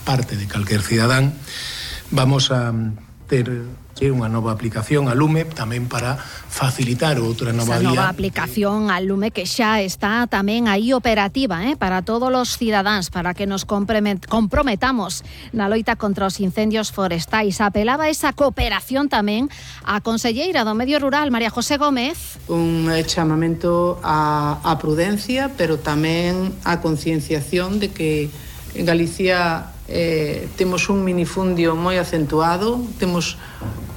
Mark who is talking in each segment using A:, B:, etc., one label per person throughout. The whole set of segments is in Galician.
A: parte de calquer cidadán, vamos a ter unha nova aplicación a Lume tamén para facilitar outra nova vía.
B: Esa nova aplicación a Lume que xa está tamén aí operativa para todos os cidadáns, para que nos comprometamos na loita contra os incendios forestais. Apelaba esa cooperación tamén a conselleira do Medio Rural, María José Gómez.
C: Un chamamento a prudencia, pero tamén a concienciación de que en Galicia temos un minifundio moi acentuado, temos,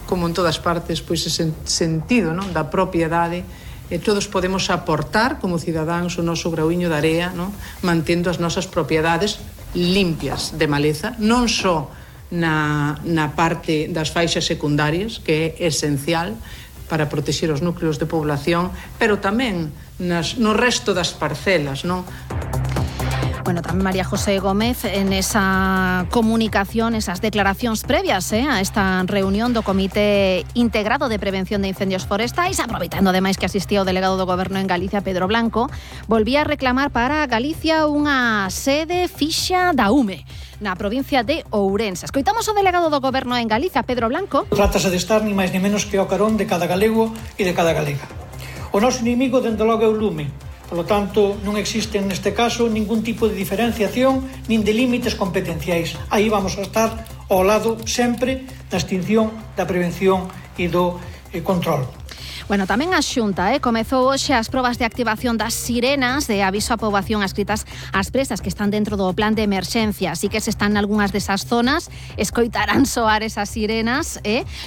C: como en todas partes, pois ese sentido, non, da propiedade, e todos podemos aportar como cidadáns o noso grauiño de area, non, mantendo as nosas propiedades limpias de maleza, non só na parte das faixas secundarias, que é esencial para protexer os núcleos de población, pero tamén no resto das parcelas, non?
B: Bueno, tamén María José Gómez en esa comunicación, esas declaracións previas a esta reunión do Comité Integrado de Prevención de Incendios Forestais, aproveitando ademais que asistía o delegado do Goberno en Galicia, Pedro Blanco, volvía a reclamar para Galicia unha sede fixa da UME na provincia de Ourense. Escoitamos o delegado do Goberno en Galicia, Pedro Blanco.
D: Trátase de estar ni máis ni menos que ao carón de cada galego e de cada galega. O noso inimigo, dende logo, é o lume. Por lo tanto, non existe neste caso ningún tipo de diferenciación nin de límites competenciais. Aí vamos a estar ao lado sempre da extinción, da prevención e do control.
B: Bueno, tamén a Xunta comezou hoxe as probas de activación das sirenas de aviso á poboación adscritas ás presas que están dentro do plan de emerxencia. Así que se están nalgunhas desas zonas, escoitarán soar esas sirenas,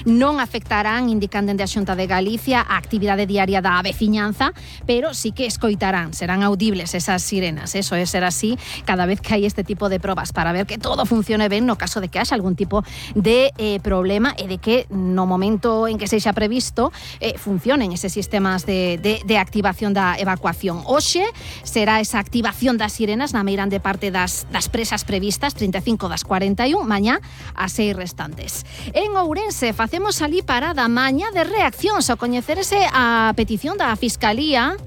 B: non afectarán, indican dende a Xunta de Galicia, a actividade diaria da veciñanza, pero sí que escoitarán, serán audibles esas sirenas. Eso é ser así cada vez que hai este tipo de probas, para ver que todo funcione ben no caso de que haxa algún tipo de problema e de que no momento en que sexa previsto funcione eses sistemas de activación da evacuación. Hoxe será esa activación das sirenas na meirande parte das presas previstas, 35 das 41, mañá as 6 restantes. En Ourense facemos ali parada mañá de reaccións ao coñecerse a petición da Fiscalía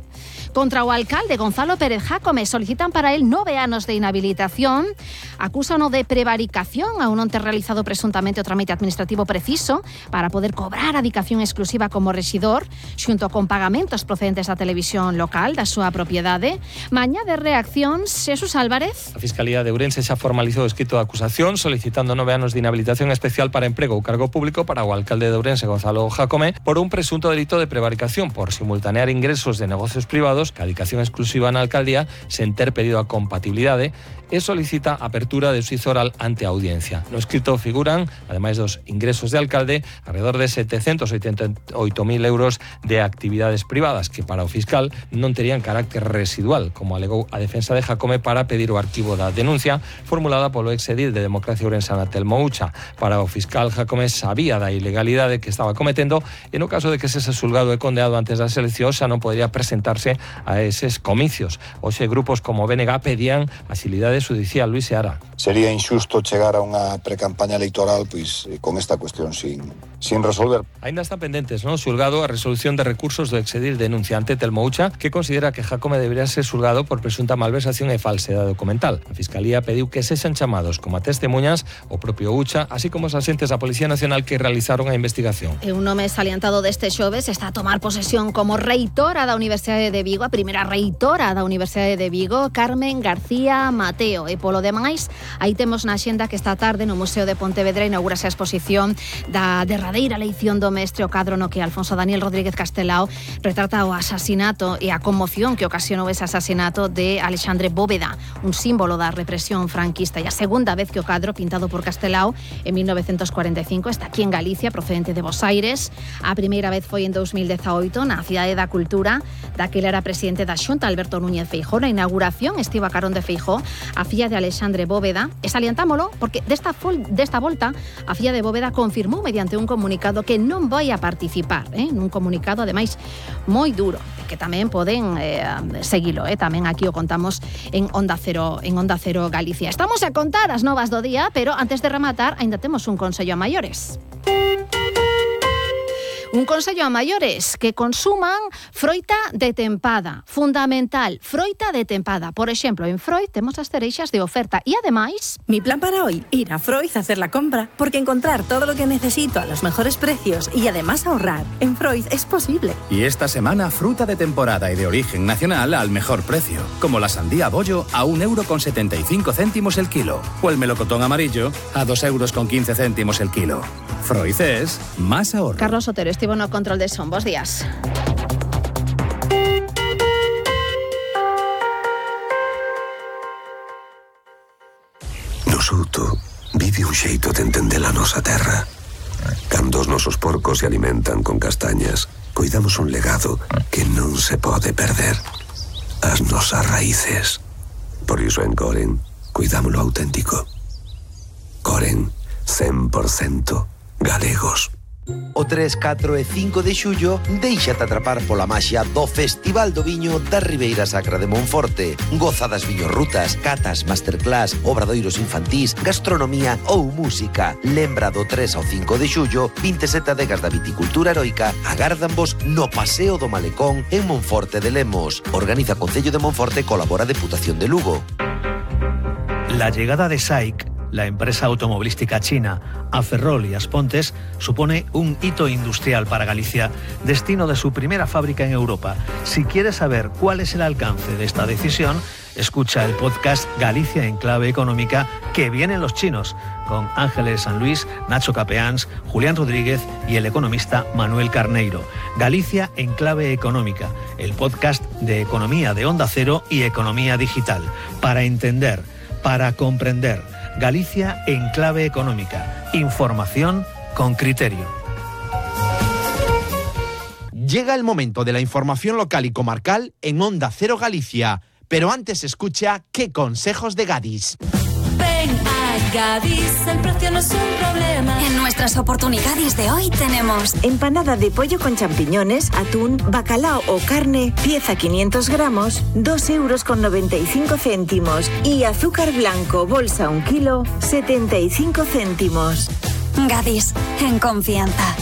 B: contra o alcalde Gonzalo Pérez Jácome. Solicitan para él 9 anos de inhabilitación, acúsano de prevaricación ao non ter realizado presuntamente o trámite administrativo preciso para poder cobrar a adicación exclusiva como rexidor, xunto con pagamentos procedentes da televisión local da súa propiedade. Mañá de reaccións, Xesús Álvarez.
E: A Fiscalía de Ourense xa formalizou o escrito de acusación solicitando 9 anos de inhabilitación especial para emprego ou cargo público para o alcalde de Ourense, Gonzalo Jácome, por un presunto delito de prevaricación por simultanear ingresos de negocios privados que a adicación exclusiva na alcaldía sen ter pedido a compatibilidade e solicita a apertura de xuízo oral ante a audiencia. No escrito figuran, ademais dos ingresos de alcalde, alrededor de 788.000 euros de actividades privadas que para o fiscal non terían carácter residual, como alegou a defensa de Jácome para pedir o arquivo da denuncia formulada polo exedil de Democracia Ourensana, Telmo Ucha. Para o fiscal, Jácome sabía da ilegalidade que estaba cometendo e no caso de que sese xulgado e condenado antes das eleccións xa non podría presentarse a eses comicios. Hoxe grupos como BNG pedían axilidade judicial. Luis Seara.
F: Sería injusto chegar a unha precampaña electoral pois con esta cuestión sin resolver.
E: Ainda están pendentes, non, xulgado a resolución de recursos do exedil denunciante Telmo Ucha, que considera que Jácome debería ser xulgado por presunta malversación e falsedade documental. A Fiscalía pediu que sexan chamados como a testemunhas o propio Ucha, así como os axentes da Policía Nacional que realizaron a investigación.
B: E un nome salientado deste xoves está a tomar posesión como reitora da Universidade de Vigo, a primeira reitora da Universidade de Vigo, Carmen García Mateo. E polo demais, aí temos na xenda que esta tarde no Museo de Pontevedra inaugurase a exposición da derradeira leición do mestre, o cadro no que Alfonso Daniel Rodríguez Castelao retrata o asasinato e a conmoción que ocasionou ese asasinato de Alexandre Bóveda, un símbolo da represión franquista. E a segunda vez que o cadro, pintado por Castelao en 1945, está aquí en Galicia, procedente de Bos Aires. A primeira vez foi en 2018 na Cidade da Cultura, daquela era presidente da Xunta, Alberto Núñez Feijóo. Na inauguración estivo a carón de Feijóo a filla de Alexandre Bóveda, e salientámolo porque desta volta a filla de Bóveda confirmou mediante un comunicado que non vai a participar, nun comunicado ademais moi duro, que tamén poden seguilo, tamén aquí o contamos en Onda Cero Galicia. Estamos a contar as novas do día, pero antes de rematar, aínda temos un consello a maiores. Un consello a maiores que consuman froita de tempada. Fundamental, froita de tempada. Por exemplo, en Freud temos as cereixas de oferta e ademais...
G: Mi plan para hoy, ir a Freud a hacer la compra, porque encontrar todo lo que necesito a los mejores precios y además ahorrar en Freud es posible.
H: Y esta semana, fruta de temporada y de origen nacional al mejor precio, como la sandía bollo a 1,75 € el kilo, o el melocotón amarillo a 2,15 € el kilo. Freud es más ahorro.
B: Carlos Otero, estivo no control de son. Bos días.
I: Nosuto vive un xeito de entender a nosa terra. Cando os nosos porcos se alimentan con castañas, coidamos un legado que non se pode perder. As nosas raíces. Por iso en Coren, cuidámoslo auténtico. Coren, 100% galegos.
J: O 3, 4 e 5 de xullo déixate atrapar pola maxia do Festival do Viño da Ribeira Sacra de Monforte. Goza das viñorrutas, catas, masterclass, obradoiros infantís, gastronomía ou música. Lembra do 3 ao 5 de xullo, 27 adegas da viticultura heroica agárdanvos no Paseo do Malecón en Monforte de Lemos. Organiza Concello de Monforte, colabora Deputación de Lugo.
K: La llegada de SAIC, la empresa automovilística china, a Ferrol y Aspontes, supone un hito industrial para Galicia, destino de su primera fábrica en Europa. Si quieres saber cuál es el alcance de esta decisión, escucha el podcast Galicia en Clave Económica, que vienen los chinos, con Ángeles San Luis, Nacho Capeáns, Julián Rodríguez y el economista Manuel Carneiro. Galicia en Clave Económica, el podcast de economía de Onda Cero y economía digital. Para entender, para comprender. Galicia en Clave Económica. Información con criterio.
L: Llega el momento de la información local y comarcal en Onda Cero Galicia. Pero antes escucha qué consejos de Gadis.
M: Ven a Gadis, el precio no es un problema.
N: En nuestras oportunidades de hoy tenemos
G: empanada de pollo con champiñones, atún, bacalao o carne, pieza 500 gramos, 2,95 € y azúcar blanco, bolsa 1 kilo, 75 céntimos.
N: Gadis, en confianza.